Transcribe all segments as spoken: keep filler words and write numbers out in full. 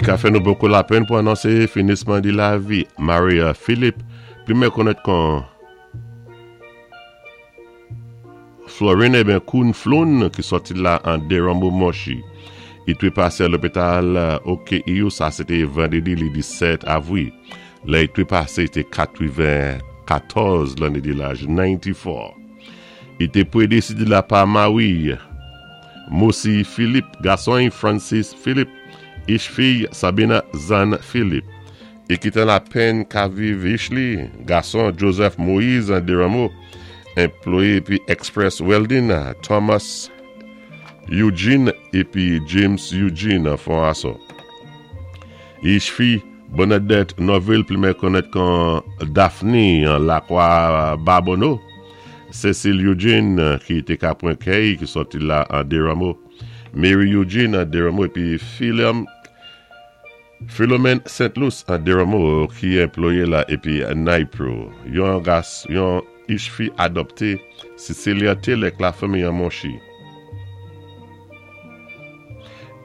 I ka fè nou bokou lapenn pou anonsé finisman di lavi Maria Philippe, pli mé konnèt kon Florine eben Koun Floun ki sòti la an Desrameaux Monchy. I twé pasé a lopital O K E U, sa sé té vandédi li disèt avwi. Lè i twé pasé, i té katwenn-katòz lanné di laj, nannti-fò. I té prédésédé la pa mari Moussi Philippe, gason Francis Philippe, ich fiy Sabina Zan Philippe. I kité lapenn ka viv ich li, gason Joseph Moïse an Desrameaux, anplwayé épi Express Welding, Thomas Eugene épi James Eugene an Fond-Raso. Ich fi Bernadette Norville, pli mé konnèt kon Daphne an Lakwa Babonneau. Cécile Eugene ki té ka pwan kèy ki sòti la an Desrameaux. Mary Eugene an Desrameaux épi Philom Philomène Saint-Louis an Desrameaux ki anplwayé la épi Nypro. Yon gas, yon ich fi adopté Cecilia Taylor ak lafanmi an Monchy.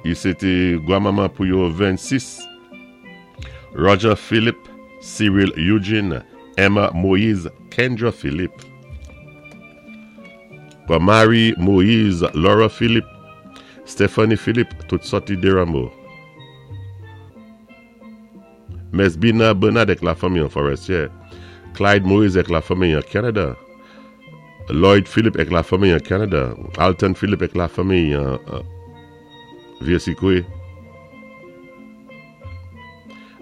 I sé té gwanmanman pou yo vennsis. Roger Philippe, Cyril Eugene, Emma Moïse, Kendra Philippe. Kwa Marie Moïse, Laura Philippe, Stephanie Philippe, tout sòti Desrameaux. Mesbina Bernard ak lafanmi an Forestier. Clyde Moïse ak lafanmi an Canada. Lloyd Philippe ak lafanmi an Canada. Alton Philippe ak lafanmi an uh, Vieux-Sikwe.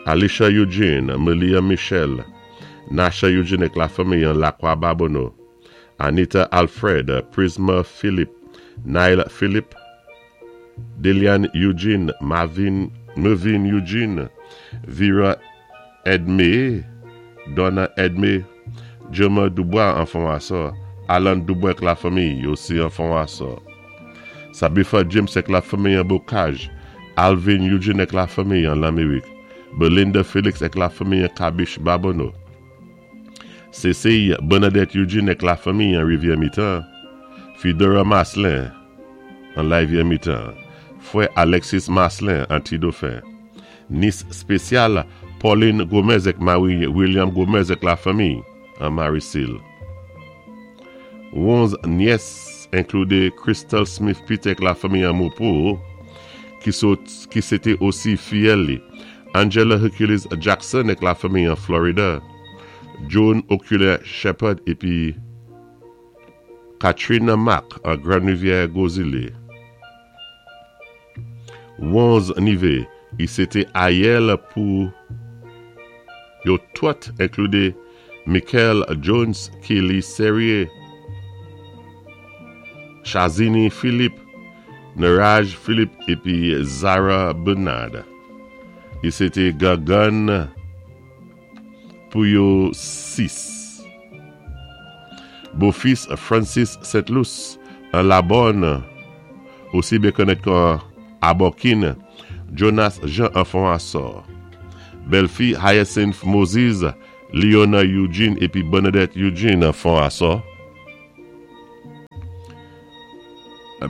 Alicia Eugene, Melia Michel, Nasha Eugene ak lafanmi an Lakwa Babonneau. Anita Alfred, Prisma Philippe, Nile Philippe, Delian Eugene, Marvin, Mervin Eugene, Vera Edme, Donna Edme, Joma Dubois an Fond-Raso, Alan Dubois ak lafanmi osi an Fond-Raso. Sabifa James ak lafanmi an Bocage, Alvin Eugene ak lafanmi an Lamérik, Belinda Félix ak lafanmi an Kabish Babonneau. Cécile Bernadette Eugene ak lafanmi an Rivière-Mitan, Fidora Maslin an Rivière-Mitan, Frè Alexis Maslin an Ti-Dauphin. Nis spésyal Pauline Gomez ak mari William Gomez ak lafanmi an Marisil. Onz nyès enkludé Crystal Smith Peter ak lafanmi an Mopo ki, sot, ki sé té osi fiyèl li. Angela Hercules Jackson ak lafanmi an Florida. Joan Oculaire Shepherd épi Katrina Mack an Grand Rivière Gozile. Onz nivé, i sé té ayèl pou yo tout enkludé Michael Jones, Kelly Serrier, Shazini Philippe, Naraj Philippe épi Zara Bernard. I sé té gangann pou yo sis. Bofis Francis Saint-Louis an Labonne, osi byen konnèt kon Abokin, Jonas Jean an Fond-Raso. Bèlfi Hyacinth Moses, Leona Eugene épi Bernadette Eugene an Fond-Raso.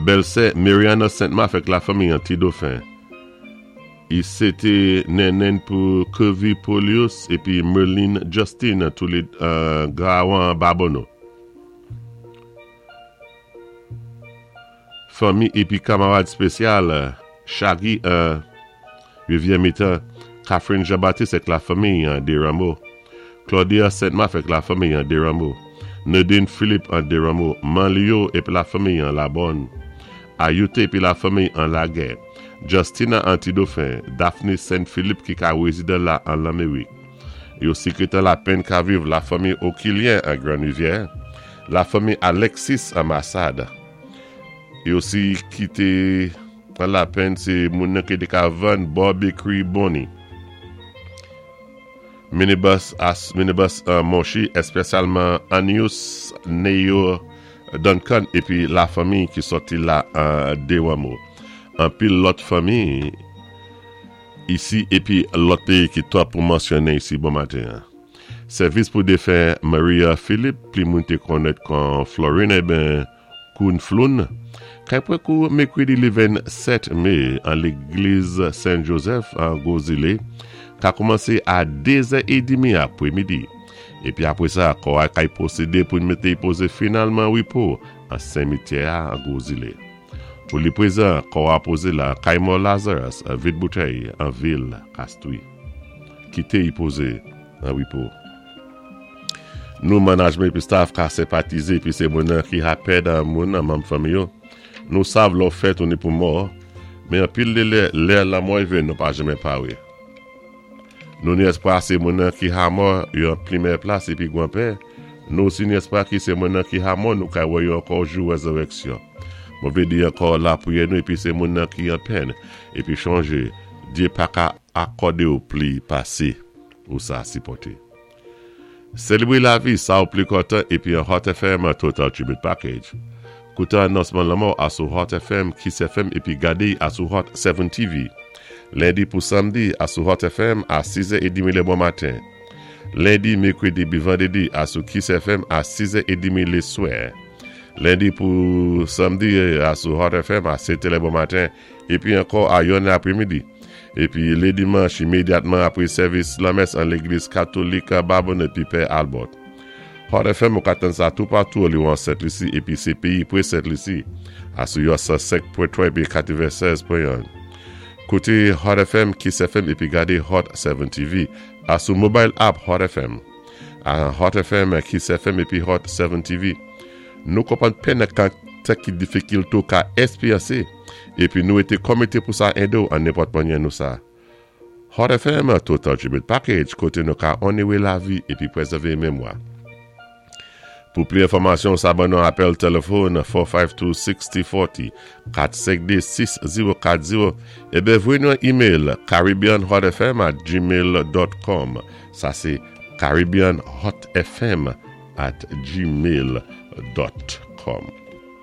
Bèlsè Mariana Saint-Marc ak lafanmi an Ti-Dauphin. I sé té nennenn pou Kirby Polius épi Merlin Justin tou lé uh, Grawan Babonneau. Fanmi épi kamarad spésyal Shaggy uh, Rivière Mitan, Catherine Jean-Baptiste ak lafanmi an Desrameaux, Claudia Saint-Marc ak lafanmi an Desrameaux, Nadine Philippe an Desrameaux, Manlio épi lafanmi an Labonne, Ayute épi lafanmi an Laguerre, Justina an Ti-Dauphin, Daphne Saint-Philippe ki ka rézidan la an Lamérik. Yo sékrétè lapenn ka viv lafanmi Okilien an Grand Rivière, lafanmi Alexis an Massade. Yo osi kité an lapenn sé moun ki té ka vann Bob Bakery Bonnie. Minibus as minibus uh, Monchy, espesyalman Anius Neo Duncan épi lafanmi ki sòti la an Desrameaux. Anpil lòt fanmi isi épi lòt péyi ki twòp pou mansyoné isi bon maten. Sèvis pou défen Maria Philippe, pli moun té konnèt kon Florine eben Koun Floun, Kay pwan kou mèkwédi lé vennsèt mé an légliz Saint Joseph an Gwozilé ka koumansé a dé zè é demi apwé midi. Épi apwé sa, kò-a kay pwosédé pou mété'y pozé finalman an wépo an simityè-a an Gwozilé. Pou li pwézan, kò-a pozé la kay mò Lazarus, Vid Boutèy, an vil Castries. Kité y pozé an wépo. Nou manajman épi staff ka senpatizé épi sé moun ki ha pèd an moun an manm fanmi yo. Nou sav lò fèt ou ni pou mò, men anpil lé lè, lè lanmò y vin nou pa janmen pawé. Nou ni espwa sé moun ki ha mò yo an pli mèyè plas épi gwan pè. Nou osi ni espwa ki sé moun ki ha mò nou kay wè yo ankò jou wézirèksyon. Mwen vlé di ankò lapwiyè nou épi sé moun ki an pèn épi chonjé, Dye pa ka akòdé ou pli pasé ou sa sipòté. Sélébré lavi, sa ou pli kontan épi an Hot F M Total Tribute Package. Kouté anonsman lanmò asou Hot F M, Kiss F M épi gadé asou Hot sèt T V. Lendi pou samdi asou Hot F M a sis è trant lé bon maten. Lendi, mèkwédi, épi vandédi asou Kiss F M a sis è trant lé swè. Lendi pou samdi asou Hot F M a sèt lé bon maten épi ankò a yonnè apwé midi. Épi lé dimanch imédyatman apwé sèvis lamès an légliz katolik Babonneau épi Pè Albert. Hot F M ou ka tann sa toupatou li an Sent Lisi épi sé péyi pwé Sent Lisi. Asou yo san senk pwen twa épi katwennsèz pwen en. Kouté Hot F M, Kiss F M épi gadé Hot sèt T V asou mobile app Hot F M. A Hot F M, Kiss F M épi Hot sèt T V. Nou konpwann pèn kan ki difikilté ou ka ékspéryansé épi nou été komité pou sa édé ou an nenpòt mannyè nou sa. Hot F M Total Tribute Package koté nou ka onoré lavi épi pwézèvé mémwa. Pou pli enfòmasyon, sa ban nou apèl téléfòn kat senk de, sis zéro kat zéro, kat senk de, sis zéro kat zéro ébyen voyé nou yon email caribbeanhotfm at gmail dot com. Sa sé caribbeanhotfm at gmail dot com.